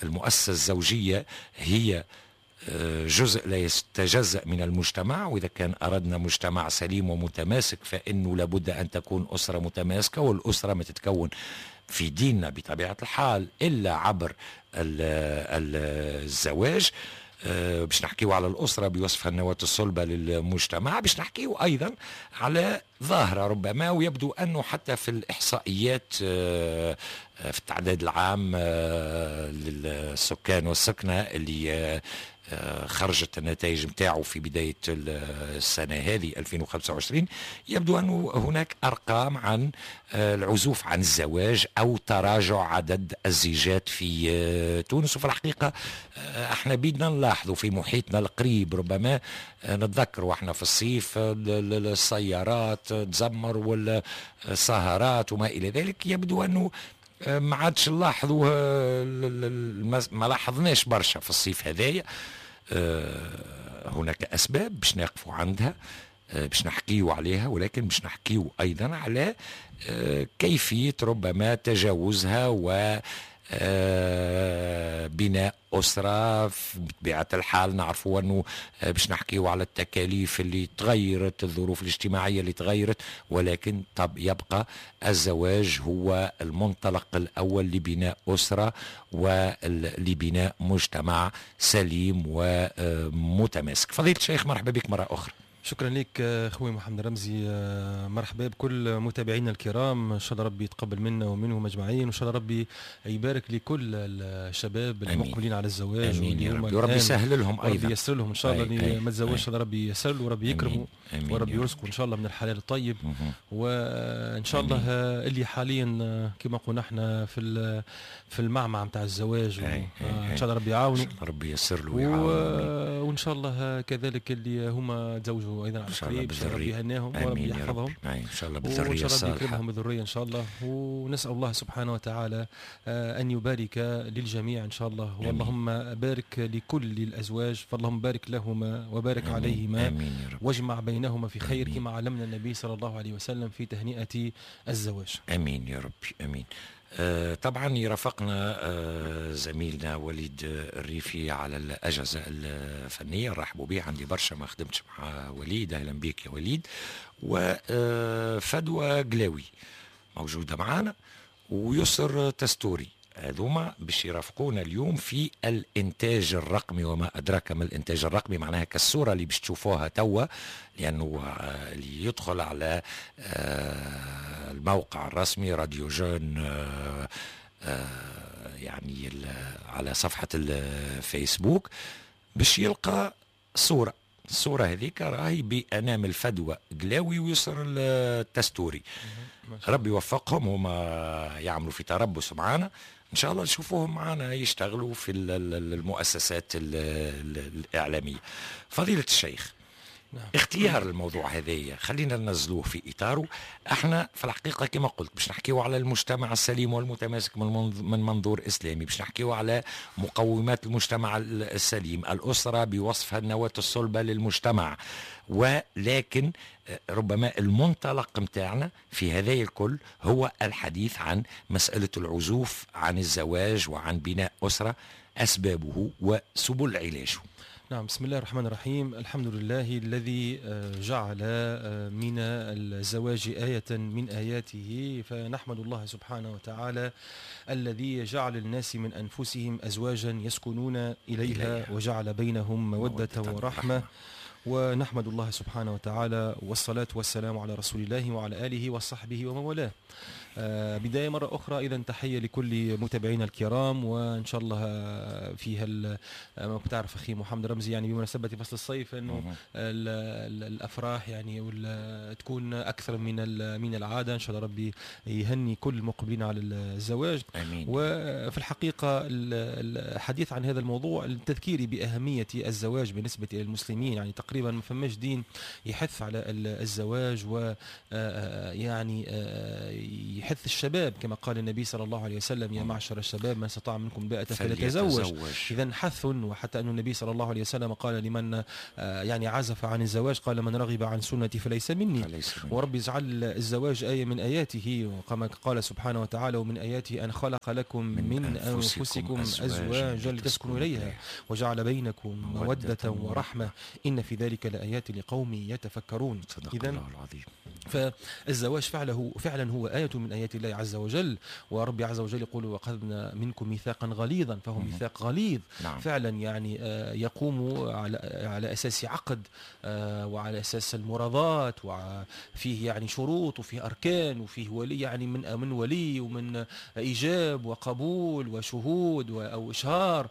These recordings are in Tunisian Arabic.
المؤسسة الزوجية هي جزء لا يتجزأ من المجتمع، وإذا كان أردنا مجتمع سليم ومتماسك فإنه لابد أن تكون أسرة متماسكة، والأسرة ما تتكون في ديننا بطبيعة الحال إلا عبر الزواج. باش نحكيو على الأسرة بوصفها النواة الصلبة للمجتمع، باش نحكيو أيضا على ظاهرة ربما ويبدو أنه حتى في الإحصائيات في التعداد العام للسكان والسكنة اللي خرجت النتائج متاعه في بداية السنة هذه 2025، يبدو أنه هناك أرقام عن العزوف عن الزواج أو تراجع عدد الزيجات في تونس. وفي الحقيقة احنا بيدنا نلاحظوا في محيطنا القريب، ربما نتذكر واحنا في الصيف السيارات تزمر والسهرات وما إلى ذلك، يبدو أنه ما عادش نلاحظوا، ما لاحظناش برشا في الصيف هذايا. هناك أسباب باش نقفوا عندها، باش نحكيو عليها، ولكن باش نحكيو أيضا على كيفية ربما تجاوزها و بناء أسرة. بطبيعة الحال نعرفوا أنه باش نحكيو على التكاليف اللي تغيرت، الظروف الاجتماعية اللي تغيرت، ولكن طب يبقى الزواج هو المنطلق الأول لبناء أسرة ولبناء مجتمع سليم ومتماسك. فضيلة الشيخ مرحبا بك مرة أخرى. شكرا لك خوي محمد رمزي، مرحبا بكل متابعينا الكرام، ان شاء الله ربي يتقبل منا ومنهم اجمعين، وان شاء الله ربي يبارك لكل الشباب المقبلين على الزواج. امين يا ربي، وربي يسهل لهم ايضا، ربي ييسر لهم ان شاء الله، اللي ما تزوجش ربي ييسر له وربي يكرمه وربي يرزقه ان شاء الله من الحلال الطيب. وان شاء الله اللي حاليا كما قلنا احنا في المعمعة نتاع الزواج، ان شاء الله ربي يعاونه، ربي ييسر له ويعاونه. وان شاء الله كذلك اللي هما تزوجوا ايضا على قريب، ربي يهناهم وربي يحفظهم ان شاء الله بالذريه الصالحة، وان شاء الله يكرمهم بالذريه ان شاء الله. ونسال الله سبحانه وتعالى ان يبارك للجميع ان شاء الله. واللهم بارك لكل الازواج، فاللهم بارك لهما وبارك آمين. عليهما. آمين يا رب. واجمع بينهما في خير. آمين. كما علمنا النبي صلى الله عليه وسلم في تهنئة الزواج. امين يا ربي امين. طبعا يرافقنا زميلنا وليد الريفي على الأجهزة الفنية، نرحبوا به، عندي برشا ما خدمتش مع وليد، أهلا بك يا وليد. وفدوى قلاوي موجودة معنا، ويسر تستوري، هذوما باش يرافقونا اليوم في الإنتاج الرقمي. وما أدراك ما الإنتاج الرقمي، معناها كالصورة اللي باش تشوفوها توا، لأنه اللي يدخل على الموقع الرسمي راديو جون يعني على صفحة الفيسبوك باش يلقى صورة، الصورة هذيك راهي بأنامل فدوى قلاوي ويسر التستوري. ربي يوفقهم، هما يعملوا في تربص معانا، إن شاء الله نشوفوهم معانا يشتغلوا في المؤسسات الإعلامية. فضيلة الشيخ، نعم. اختيار الموضوع هذايا خلينا ننزلوه في إطاره. احنا في الحقيقة كما قلت باش نحكيو على المجتمع السليم والمتماسك من منظور إسلامي، باش نحكيو على مقومات المجتمع السليم، الأسرة بوصفها النواة الصلبة للمجتمع، ولكن ربما المنطلق متاعنا في هذا الكل هو الحديث عن مسألة العزوف عن الزواج وعن بناء أسرة، أسبابه وسبل علاجه. نعم، بسم الله الرحمن الرحيم. الحمد لله الذي جعل من الزواج آية من آياته، فنحمد الله سبحانه وتعالى الذي جعل الناس من أنفسهم أزواجا يسكنون إليها وجعل بينهم مودة ورحمة. ونحمد الله سبحانه وتعالى، والصلاة والسلام على رسول الله وعلى آله وصحبه ومن والاه. بداية مرة أخرى إذا تحية لكل متابعينا الكرام، وإن شاء الله فيها ما بتعرف أخي محمد رمزي، يعني بمناسبة فصل الصيف أنه الأفراح يعني تكون أكثر من العادة. إن شاء الله ربي يهني كل المقبلين على الزواج. آمين. وفي الحقيقة الحديث عن هذا الموضوع التذكيري بأهمية الزواج بالنسبة إلى المسلمين، يعني تقريبا ما فماش دين يحث على الزواج ويعني يحث الشباب كما قال النبي صلى الله عليه وسلم: يا معشر الشباب من استطاع منكم الباءة فليتزوج. إذا حث، وحتى أن النبي صلى الله عليه وسلم قال لمن يعني عزف عن الزواج قال: من رغب عن سنتي فليس مني. وربي جعل الزواج آية من آياته، وكما قال سبحانه وتعالى: ومن آياته أن خلق لكم من أنفسكم أزواجا لتسكنوا إليها وجعل بينكم مودة ورحمة إن في ذلك لآيات لقوم يتفكرون. صدق الله العظيم. فالزواج فعلا هو آية من آيات الله عز وجل، وربي عز وجل يقول: وأخذنا منكم ميثاقا غليظا، فهو ميثاق غليظ. فعلا يعني يقوم على أساس عقد، وعلى أساس المراضاة، وفيه يعني شروط وفيه أركان وفيه ولي، يعني من ولي ومن إيجاب وقبول وشهود أو إشهار،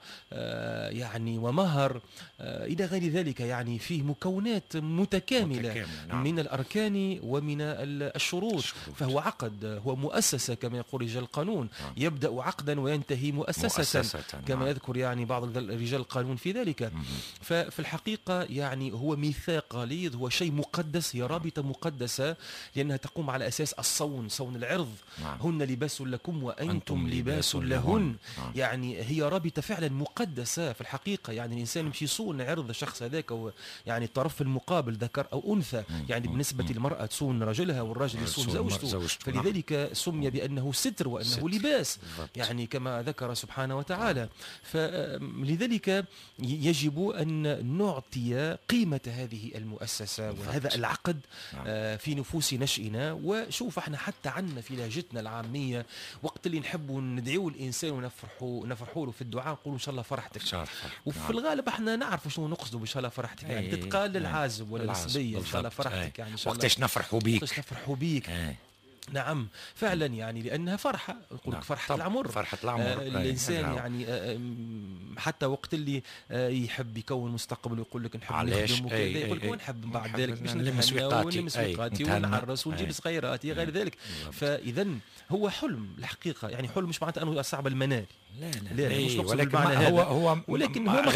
يعني ومهر، إلى غير ذلك. يعني فيه مكونات متكاملة. نعم. من الأركان ومن الشروط. فهو عقد، هو مؤسسة كما يقول رجال القانون. نعم. يبدأ عقدا وينتهي مؤسسة كما نعم. يذكر يعني بعض رجال القانون في ذلك. ففي الحقيقة يعني هو ميثاق غليظ، هو شيء مقدس، هي رابطة مقدسة لأنها تقوم على أساس الصون، صون العرض. نعم. هن لباس لكم وأنتم لباس لهن. نعم. يعني هي رابطة فعلا مقدسة في الحقيقة. يعني الإنسان يمشي يصون عرض الشخص هذاك، يعني الطرف المقابل ذكر أو أنثى. يعني بالنسبة للمرأة تصون رجلها والرجل يصون زوجته. فلذلك سمي بأنه ستر وأنه ستر. لباس. بالضبط. يعني كما ذكر سبحانه وتعالى. فلذلك يجب أن نعطي قيمة هذه المؤسسة. بالضبط. وهذا العقد. نعم. في نفوس نشئنا. وشوف احنا حتى عنا في لهجتنا العامية وقت اللي نحبوا ندعو الإنسان ونفرحوا له في الدعاء نقولوا إن شاء الله فرحتك. وفي نعم. الغالب احنا نعرف شنو نقصدوا بإن شاء الله فرحتك. يعني تتقال للعازب ولا للصبية إن شاء الله فرحتك، يعني إن شاء الله وقتاش نفرحوا بيك، وقتاش نفرحوا بيك. نعم فعلا، يعني لأنها فرحة، يقول لك فرحة العمر، فرحة العمر. الإنسان يعني حتى وقت اللي يحب يكون مستقبل ويقول لك نحب نخدم وكذا، يقول لك ونحب بعد ذلك باش نلم سويقاتي ونعرس ونجيب صغيراتي غير ذلك. فإذا هو حلم الحقيقة، يعني حلم مش معناته أنه صعب المنال، لا لا, لا مش نقصد بالمعنى هذا، هو ولكن هو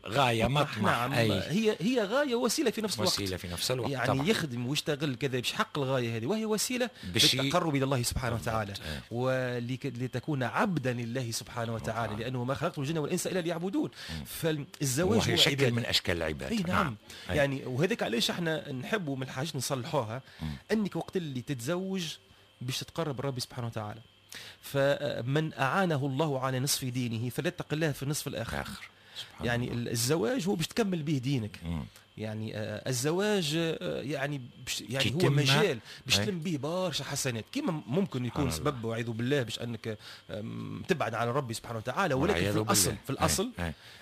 غاية مطمح. نعم. هي غاية وسيلة في نفس الوقت، وسيلة في نفس الوقت. يعني طبعا. يخدم ويشتغل كذا باش يحقق الغاية هذه، وهي وسيلة للتقرب إلى الله سبحانه وتعالى، ولتكون عبدا لله سبحانه وتعالى، لأنه ما خلقت الجن والإنس إلا ليعبدون. فالزواج هو شكل من أشكال العبادة. أي نعم. يعني وهذاك علاش احنا نحبوا من الحاجات نصلحوها، أنك وقت اللي تتزوج باش تتقرب ربي سبحانه وتعالى. فمن أعانه الله على نصف دينه فليتق الله في النصف الآخر. يعني الله. الزواج هو باش تكمل به دينك. يعني الزواج يعني يعني هو مجال باش تلم به برشا حسنات، كما ممكن يكون سبب وعيذ بالله باش انك تبعد على ربي سبحانه وتعالى، ولكن في الاصل في الاصل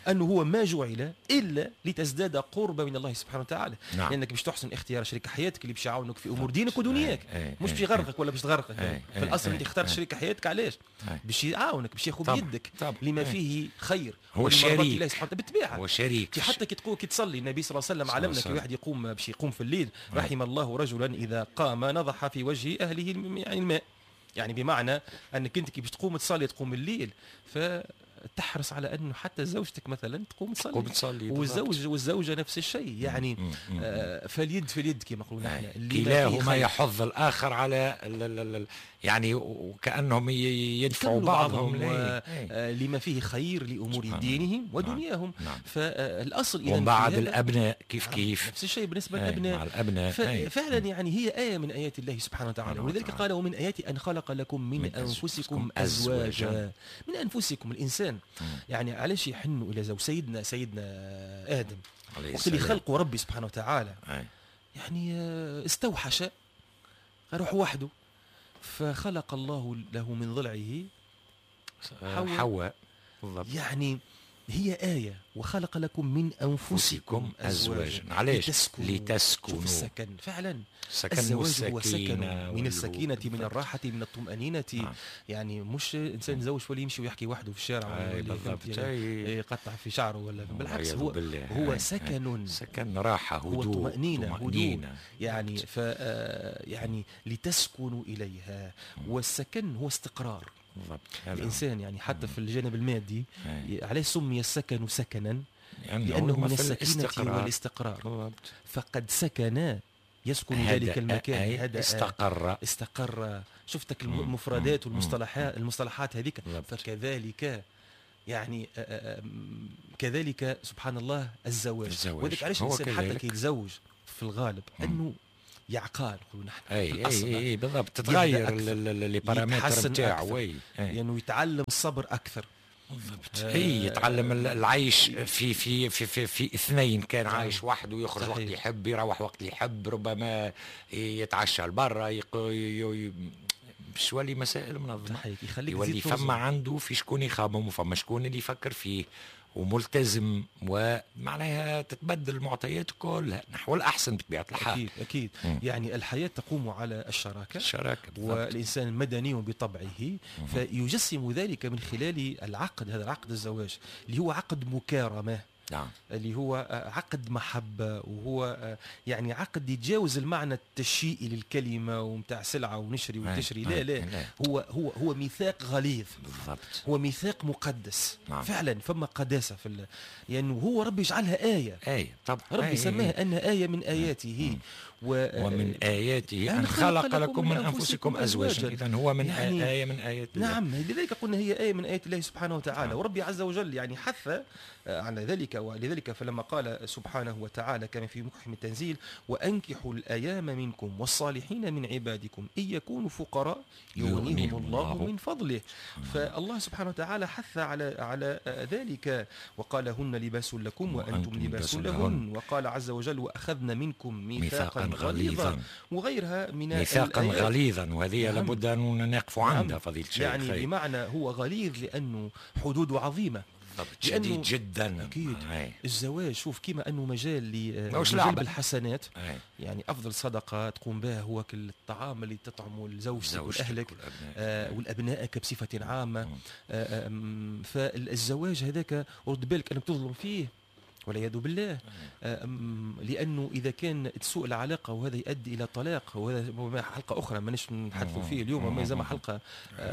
انه هو ما جعل الا لتزداد قربا من الله سبحانه وتعالى. نعم. لانك باش تحسن اختيار شريك حياتك اللي باش يعاونك في امور دينك ودنياك، مش باش يغرقك ولا باش تغرقك. في الاصل انت اخترت شريك حياتك علاش؟ باش يعاونك، باش ياخذ بيدك لما فيه خير. هو شريك بالطبيعة، هو شريك. حتى كي تقول كي تصلي النبي صلى الله عليه وسلم علمنا كي واحد يقوم باش يقوم في الليل، رحم الله رجلا اذا قام نضح في وجه اهله يعني الماء، يعني بمعنى انك انت كي باش تقوم تصلي تقوم الليل، فتحرص على انه حتى زوجتك مثلا تقوم تصلي، والزوج والزوجة نفس الشيء. يعني فاليد في اليد كما نقولوا نحن، كلاهما يحض الاخر على يعني وكانهم يدفعوا بعضهم لما فيه خير لامور دينهم ودنياهم. نعم. فالاصل اذا وبعد الابناء كيف كيف نفس الشيء بالنسبة للابناء، مع الابناء. فعلا يعني هي ايه من ايات الله سبحانه وتعالى، ولذلك قال ومن اياتي ان خلق لكم من انفسكم ازواجا. من انفسكم الانسان يعني علاش يحنوا الى زوج؟ سيدنا ادم وقت اللي خلقه ربي سبحانه وتعالى يعني استوحش روح وحده، فخلق الله له من ضلعه حواء. يعني هي آية، وخلق لكم من أنفسكم أزواجا. علاش؟ لتسكنوا. السكن فعلا، الزواج هو سكن، من السكينة، من الراحة، من الطمأنينة. يعني مش إنسان يتزوج ولا يمشي ويحكي وحده في الشارع ولا يقطع في شعره ولا، بالعكس هو سكن، سكن، راحة، هدوء، هو طمأنينة، هدوء. يعني ف يعني لتسكنوا إليها. والسكن هو استقرار الإنسان، يعني حتى في الجانب المادي علاش سمي السكن سكنا؟ لأنه من السكينة والاستقرار. فقد سكن يسكن ذلك المكان، هدأ، استقر. شفتك المفردات والمصطلحات، المصطلحات هذيك. فكذلك يعني كذلك سبحان الله الزواج. وذلك علاش الانسان حتى كي يتزوج في الغالب انه يعقال، نقولوا نحن. اي اي اي بالضبط، تتغير les paramètres نتاعو، لانه يتعلم الصبر اكثر. بالضبط. اي يتعلم العيش في في في في, في اثنين، كان عايش وحده ويخرج وقت يحب، يروح وقت يحب، ربما يتعشى لبرا، باش يولي مسائل منظمة، يخليك يولي فما عنده في شكون يخمم وفما شكون اللي يفكر فيه وملتزم، ومعناها تتبدل المعطيات كلها نحو الأحسن بطبيعة الحال. أكيد أكيد. يعني الحياة تقوم على الشراكة، والإنسان مدني بطبعه، فيجسم ذلك من خلال العقد، هذا العقد الزواج اللي هو عقد مكارمة. نعم. اللي هو عقد محبة، وهو يعني عقد يتجاوز المعنى التشيئي للكلمة ومتاع سلعة ونشري وتشري. لا لا، لا. هو هو هو ميثاق غليظ. بالضبط. هو ميثاق مقدس. نعم. فعلا فما قداسة في يعني هو ربي يجعلها آية. آية طبعا. ربي سماها أنها آية من آياته. ومن آياته أن خلق لكم من أنفسكم أزواجا. إذا هو من يعني آية من آيات الله. نعم، لذلك قلنا هي آية من آيات الله سبحانه وتعالى. نعم. وربي عز وجل يعني حث على ذلك، ولذلك فلما قال سبحانه وتعالى كما في محكم التنزيل: وأنكحوا الأيام منكم والصالحين من عبادكم إن يكونوا فقراء يغنيهم الله من فضله. فالله سبحانه وتعالى حث على ذلك وقال: هن لباس لكم وأنتم لباس لهن. وقال عز وجل: وأخذنا منكم ميثاقا غليظا، وغيرها من ميثاقا غليظا. وهذه نعم. لابد أن نقف عندها فضيلة الشيخ. يعني بمعنى هو غليظ لأنه حدوده عظيمة، شديد جدا. أكيد. الزواج شوف كما أنه مجال لجلب الحسنات. يعني أفضل صدقة تقوم بها هو كل الطعام اللي تطعمه لزوجتك والأهلك والأبنائك بصفة عامة. فالزواج هذاك رد بالك أنك تظلم فيه والعياذ بالله، لأنه إذا كان تسوء العلاقة وهذا يؤدي إلى طلاق، وهذا حلقة أخرى مانيش نحدثوا فيه اليوم، ما زال حلقة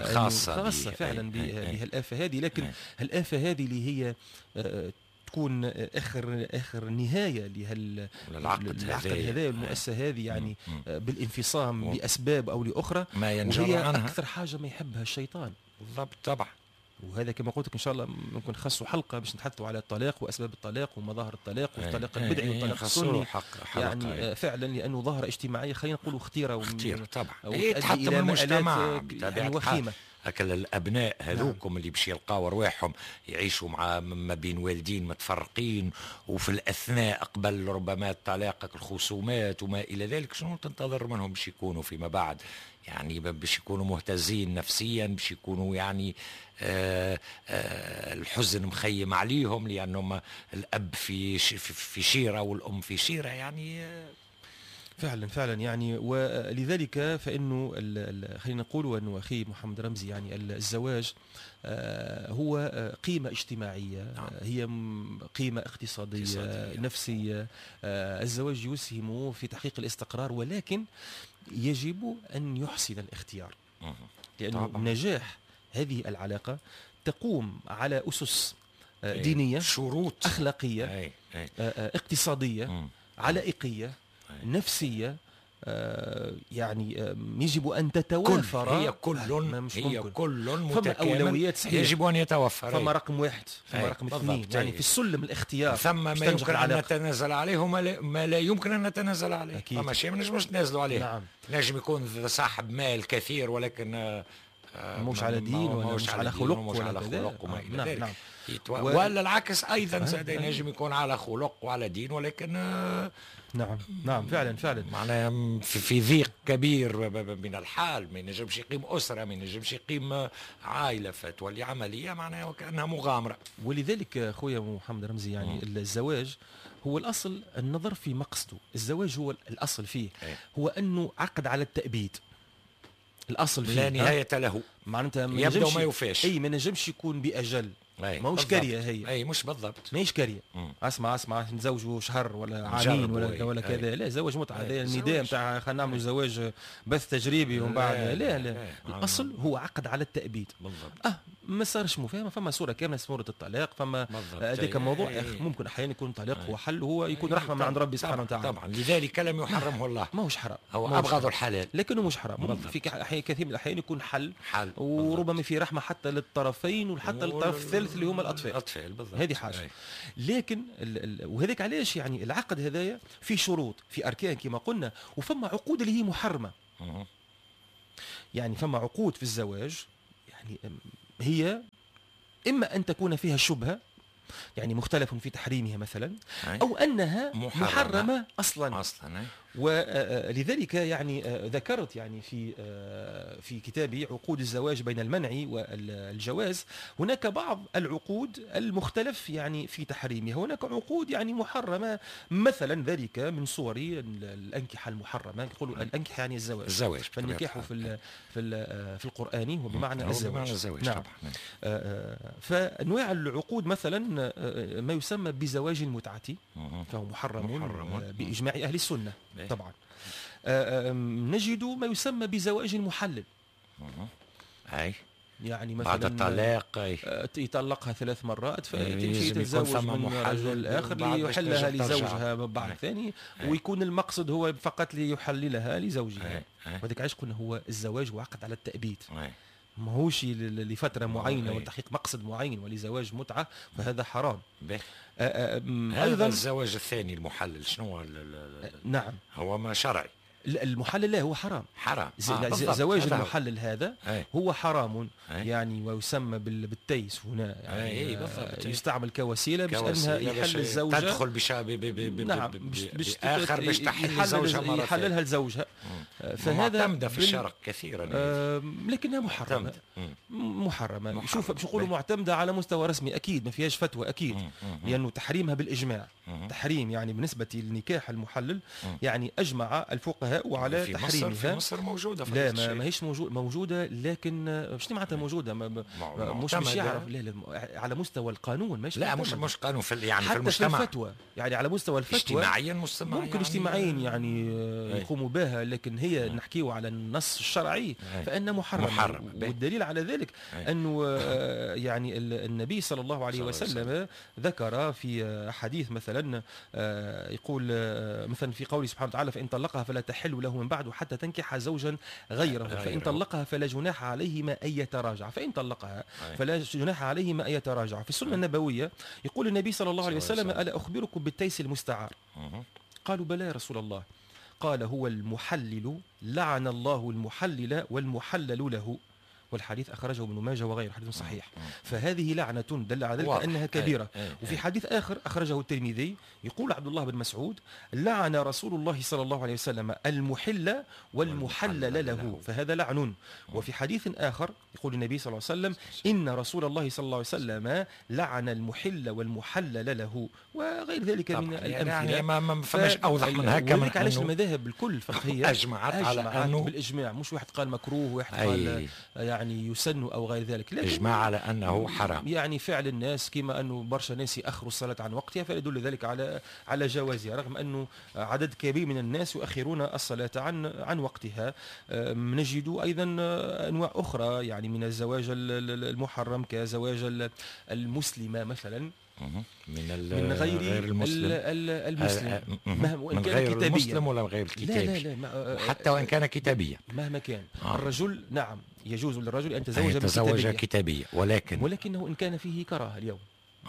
خاصة فعلا بهالآفة هذه. لكن هالآفة هذه اللي هي تكون اخر نهاية لهالعقد هذا والمؤسسة هذه، يعني بالانفصام لاسباب او لاخرى، ما ينجر عنها اكثر حاجة ما يحبها الشيطان. بالضبط طبعا. وهذا كما قلت لك ان شاء الله ممكن نخصوا حلقة باش نتحدثوا على الطلاق واسباب الطلاق ومظاهر الطلاق والطلاق البدعي والطلاق السني. يعني فعلا لانه ظاهره اجتماعية خلينا نقولوا خطيرة، خطيرة طبعا، تحطم المجتمع يعني وخيمة. هكا الابناء هذوكم نعم. اللي باش يلقاو ارواحهم يعيشوا مع ما بين والدين متفرقين، وفي الاثناء قبل ربما الطلاق الخصومات وما الى ذلك، شنو تنتظر منهم باش يكونوا فيما بعد؟ يعني باش يكونوا مهتزين نفسيا، باش يكونوا يعني الحزن مخيم عليهم، لانهم الاب في في شيره والام في شيره يعني. فعلا فعلا يعني، ولذلك فإنه خلينا نقول أنه أخي محمد رمزي يعني الزواج هو قيمة اجتماعية، نعم. هي قيمة اقتصادية نفسية. الزواج يسهم في تحقيق الاستقرار، ولكن يجب أن يحسن الاختيار، لأنه طبعا. نجاح هذه العلاقة تقوم على أسس دينية، شروط أخلاقية، اقتصادية، علائقية، نفسية. يعني يجب أن تتوافر. هي كل هي كل متكامل، أولويات صحيح يجب أن يتوفر. فما رقم واحد، فما رقم اثنين، يعني في السلم الاختيار ثم ما يمكن أن نتنازل عليه وما لا يمكن أن نتنازل عليه. فما شيء ما نجموش نتنازلوا عليه. نعم. نجم يكون صاحب مال كثير ولكن مش على دين ولا مش على خلق ولا على خلق وما إلى ذلك. نعم. ولا العكس أيضا، ينجم يكون على خلق وعلى دين ولكن نعم نعم فعلا فعلا معناها في ضيق كبير من الحال، ما ينجمش يقيم أسرة، ما ينجمش يقيم عائلة، فتولي عملية معناها وكأنها مغامرة. ولذلك خويا محمد رمزي يعني الزواج هو الأصل النظر في مقصده. الزواج هو الأصل فيه هو أنه عقد على التأبيد، الأصل فيه لا نهاية له، معناتها يبدو ما يوفاش. أي ما نجمش يكون بأجل، ماهوش كارية هي. اي مش بالضبط، ماهيش كارية. اسمع اسمع نتزوجوا شهر ولا عامين ولا كذا، لا زواج متعة، هذا النداء نتاع خلينا نعملوا زواج بث تجريبي ومن بعد لا لا. الاصل هو عقد على التأبيد. بالضبط. ما صارش مفاهمه، فما صوره كاملة، صوره الطلاق، فما هذاك موضوع ممكن احيانا يكون طلاق هو حل، هو يكون رحمه من عند ربي سبحانه وتعالى. طبعا لذلك لم يحرمه الله، ماهوش حرام، هو ابغض الحلال لكنه مش حرام. في كثير من الاحيان يكون حل وربما في رحمه حتى للطرفين وحتى للطرف الثالث اللي هما الاطفال. بالضبط، هذه حاجة. لكن وهذاك علاش يعني العقد هذايا في شروط، في اركان كما قلنا، وفما عقود اللي هي محرمة. يعني فما عقود في الزواج يعني هي إما أن تكون فيها شبهة، يعني مختلف في تحريمها مثلا، أو أنها محرمة أصلا. ولذلك يعني ذكرت يعني في كتابي عقود الزواج بين المنع والجواز، هناك بعض العقود المختلف يعني في تحريمها، هناك عقود يعني محرمة مثلا، ذلك من صور الأنكحة المحرمة. يقولوا الأنكحة يعني الزواج، فالنكاح في في القرآن هو بمعنى الزواج. نعم. فأنواع العقود مثلا ما يسمى بزواج المتعة، فهو محرم بإجماع أهل السنة. طبعا نجد ما يسمى بزواج المحلل. أي يعني مثلا بعد الطلاق يطلقها 3 مرات فتمشي تتزوج من رجل آخر ليحلها لزوجها بعد ثاني، ويكون المقصد هو فقط ليحللها لزوجها. وهذاك علاش قلنا هو الزواج وعقد على التأبيد، ماهوش لفترة معينة ولتحقيق مقصد معين ولزواج متعة، فهذا حرام. أيضا الزواج الثاني المحلل شنو؟ نعم، هو ما شرعي. المحلل لا، هو حرام. حرام. زواج المحلل هذا هو حرام. يعني ويسمى بالتيس هنا، يعني بالضبط. يستعمل كوسيلة باش انها يحل الزوجة، تدخل نعم، باخر باش تحل زوجها مرة يحللها لزوجها. فهذا معتمدة في الشرق كثيرا، لكنها محرمة. محرمة. شوف باش نقولوا معتمدة على مستوى رسمي اكيد ما فيهاش فتوى اكيد، لانه تحريمها بالاجماع. تحريم يعني بالنسبة للنكاح المحلل يعني اجمع الفقهاء وعلى تحريمها. في مصر موجودة. لا، ما هيش موجودة، لكن شنو معناتها موجودة؟ مش يعرف. لا، لا، على مستوى القانون مش لا، مش قانون في يعني حتى في المجتمع، في الفتوى، يعني على مستوى الفتوى اجتماعيا ممكن يعني اجتماعيا يعني يقوموا بها، لكن هي نحكيو على النص الشرعي فإن محرم. والدليل على ذلك أنه يعني النبي صلى الله عليه وسلم ذكر في حديث مثلا، يقول مثلا في قوله سبحانه وتعالى: فإن طلقها فلا تحل له من بعد حتى تنكح زوجا غيره، فإن طلقها فلا جناح عليهما أن يتراجع، فإن طلقها فلا جناح عليهما أن يتراجع. في السنة النبوية يقول النبي صلى الله عليه وسلم: ألا أخبركم بالتيس المستعار؟ قالوا: بلى يا رسول الله. قال: هو المحلل، لعن الله المحلل والمحلل له. والحديث أخرجه ابن ماجه وغيره، حديث صحيح. فهذه لعنة دل على ذلك أنها كبيرة. وفي حديث آخر أخرجه الترمذي يقول عبد الله بن مسعود: لعن رسول الله صلى الله عليه وسلم المحل والمحلل له، فهذا لعن. وفي حديث آخر يقول النبي صلى الله عليه وسلم: إن رسول الله صلى الله عليه وسلم لعن المحل والمحلل له، وغير ذلك من الأمثلة. يعني ما فماش أوضح من هكا. من علاش المذاهب الكل الفقهية أجمعت على أنه بالإجماع، مش واحد قال مكروه وواحد قال يعني يسن أو غير ذلك، لكن إجماع على أنه حرام. يعني فعل الناس كما أنه برشا ناس يأخروا الصلاة عن وقتها فيدل ذلك على جوازها، رغم أنه عدد كبير من الناس يؤخرون الصلاة عن وقتها. نجد أيضا أنواع أخرى يعني من الزواج المحرم، كزواج المسلمة مثلا من غير المسلم، المسلم مهما وإن من كان غير كتابيا، المسلم ولا غير الكتابي، لا لا لا، حتى وإن كان كتابيا، مهما كان الرجل، نعم يجوز للرجل أن يتزوج كتابية، ولكنه إن كان فيه كراهة اليوم،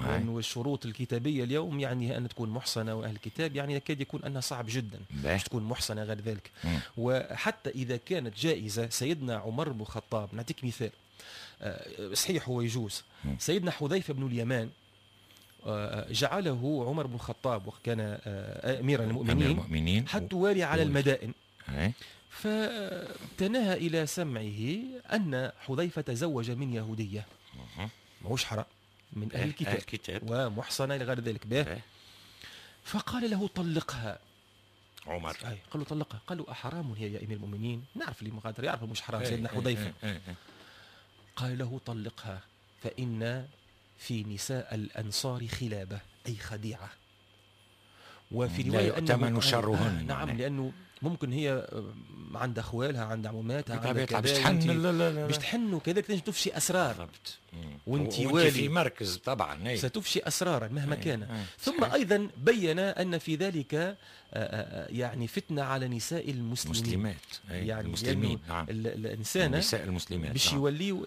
لأنه الشروط الكتابية اليوم يعني أن تكون محصنة وأهل الكتاب يعني يكاد يكون أنها صعب جدا باش تكون محصنة غير ذلك. وحتى إذا كانت جائزة، سيدنا عمر بن الخطاب نعطيك مثال، صحيح هو يجوز، سيدنا حذيفة بن اليمان جعله عمر بن الخطاب وكان أمير المؤمنين حتى والي على المدائن، فتناهى إلى سمعه أن حذيفة تزوج من يهودية، ماهوش حرام، من أهل الكتاب ومحصنة إلى غير ذلك به. فقال له طلقها عمر، قال له طلقها، قال له أحرام هي يا أمير المؤمنين؟ نعرف اللي مغادر يعرف مش حرام سيدنا حذيفة. قال له طلقها فإن في نساء الأنصار خلابة، أي خديعة. وفي رواية لا يؤتمن شرهن. نعم، لأنه ممكن هي عند اخوالها، عند عموماتها، عند كذا، باش تحن، باش تحن وكذلك تنجم تفشي اسرار. وانت والي في مركز طبعا ستفشي اسرارا مهما كان. ثم ايضا بين ان في ذلك يعني فتنة على نساء المسلمين، المسلمات، يعني المسلمين. نعم. الانسان النساء المسلمات باش يوليو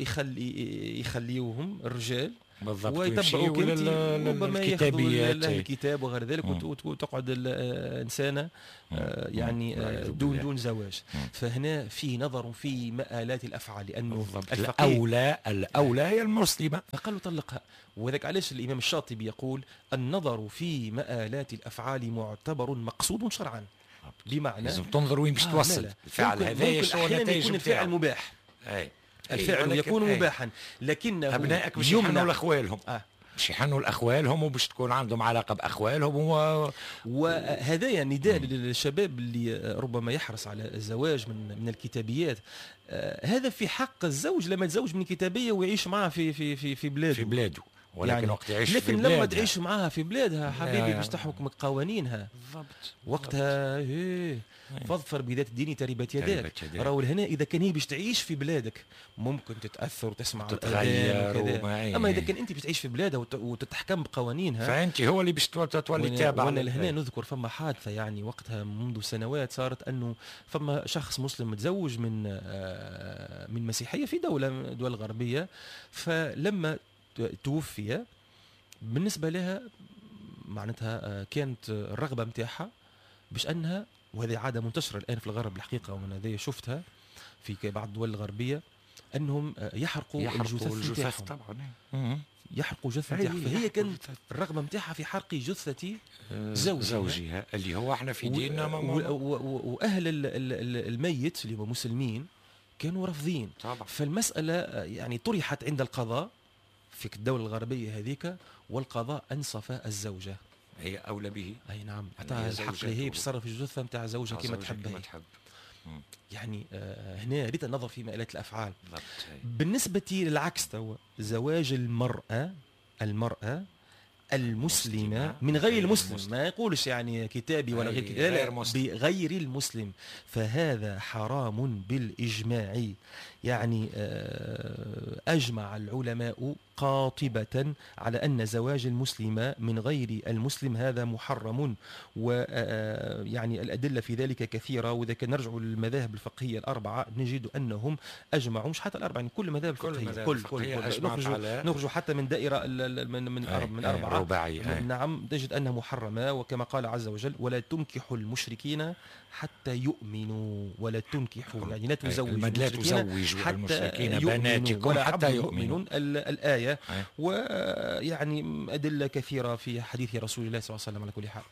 يخليوهم الرجال بالضبط ويتبعوك انت، ربما ياخذوا الكتاب وغير ذلك، وتقعد الانسانة يعني دون زواج. فهنا في نظر في مآلات الافعال، لانه الاولى هي المسلمة، فقالوا طلقها. وذلك علاش الامام الشاطبي يقول النظر في مآلات الافعال معتبر مقصود شرعا، بمعنى لازم تنظر وين باش توصل الفعل هذا، شنو النتائج. يكون الفعل مباح، الفعل يكون مباحا، لكنه ابنائك باش يحنوا لاخوالهم، باش يحنوا لاخوالهم وباش تكون عندهم علاقة باخوالهم. وهذايا نداء للشباب اللي ربما يحرص على الزواج من الكتابيات. هذا في حق الزوج لما يتزوج من كتابيه ويعيش معها في في في في بلاده، في بلاده، ولكن يعني وقت يعيش لكن في بلادها، لما تعيش معها في بلادها حبيبي باش تحكمك قوانينها بالضبط وقتها. إيه فاظفر بذات الدين تربت يداك. راهو هنا اذا كان هي باش تعيش في بلادك ممكن تتاثر وتسمع تتغير وكذا، اما اذا كان انت باش تعيش في بلادها وتتحكم بقوانينها فانت هو اللي باش تولي تابع. وانا لهنا نذكر فما حادثه يعني وقتها منذ سنوات صارت، انه فما شخص مسلم متزوج من مسيحية في دولة من الدول الغربية، فلما توفي بالنسبة لها معناتها كانت الرغبة متاعها باش أنها، وهذه عادة منتشرة الآن في الغرب الحقيقة، ومن هذه شفتها في بعض الدول الغربية، أنهم يحرقوا الجثث طبعا، يحرقوا جثة متاعها. فهي كانت الرغبة متاعها في حرق جثة زوجها اللي هو احنا في ديننا وأهل الميت اللي هم مسلمين كانوا رافضين. فالمسألة يعني طرحت عند القضاء في الدولة الغربية هذيك، والقضاء أنصف الزوجة، هي أولى به. أي نعم، أعطاها الحق هي بتصرف الجثة نتاع زوجها كما تحب هي. يعني هنا ريت النظر في مآلات الأفعال. بالنسبة للعكس توا، زواج المرأة المسلمة من غير المسلم، ما يقولش يعني كتابي ولا غير كتابي، لا، بغير المسلم، فهذا حرام بالإجماع. يعني أجمع العلماء قاطبة على أن زواج المسلمة من غير المسلم هذا محرم، ويعني الأدلة في ذلك كثيرة. وإذا كان نرجع للمذاهب الفقهية الأربعة نجد أنهم أجمعوا، مش حتى الأربعة، يعني كل المذاهب الفقهية، كل نخرج حتى من دائرة من أربعة رباعية، نعم، تجد أنها محرمة. وكما قال عز وجل: ولا تنكحوا المشركين حتى يؤمنوا. ولا تنكحوا يعني لا تزوجوا المشركين بناتكم حتى يؤمنوا، الآية. ويعني أدلة كثيرة في حديث رسول الله صلى الله عليه وسلم. على كل حال.